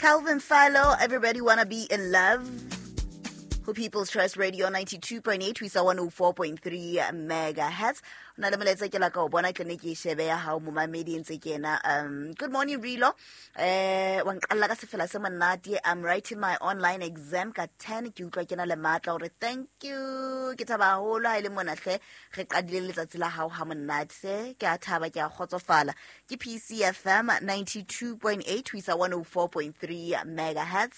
Calvin Fallo, Everybody Wanna Be in Love. Ho People's Trust Radio 92.8 ho isa 104.3 megahertz. O na le molaetsa ke la ka o bona ke ne ke e shebe ya hao momamedi e ntse ke ena. Good morning Rilo. Wa nqalla ka sefela se monate. I'm writing my online exam ka 10 ke utlwa ke na le matla hore thank you. Ke thaba haholo ha e le mona hle re qadile letsatsi la hao ha monate se ke a thaba ke a kgotsofala. Ke PCFM 92.8 ho isa 104.3 megahertz.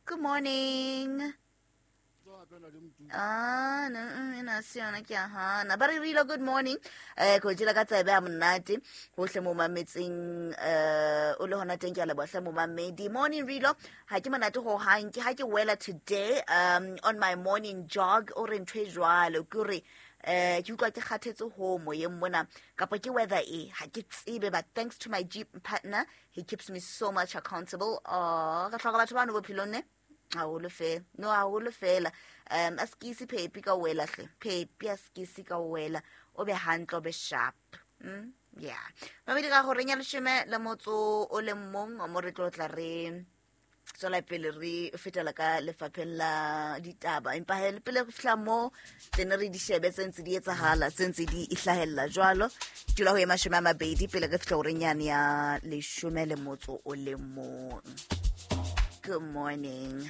Good morning. Ah, no, ena se yona ke a hana. Ba re Rilo, good morning. Ko jela ka tsebe ha monate. Hohle mo mametseng, o le hona teng ke a leboha hle momamedi. Morning Rilo, ha ke monate ho hang ke ha ke wela today on my morning jog o re ntho e jwalo ke hore ke utlwa ke kgathetse ho moyeng mona kapa ke weather e ha ke tsebe, but thanks to my gym partner he keeps me so much accountable. Oh, re hloka batho bano bophelong ne haholo fela, no haholo fela. A sekisi phepi ka wela hle, phepi a sekisi ka wela, o be hantle o be sharp. Yeah, mamedi ka gore nya leshome le motso o le mong mo re tlo tla re tswela pele re fetela ka lefapheng la ditaba, empa he le pele re fihla mo tsene re di shebe tse ntse di etsahala, tse ntse di ihlahella jwalo. Dula ho ye 20 pele re fihla horeng yane ya leshome le motso o le mong. Good morning.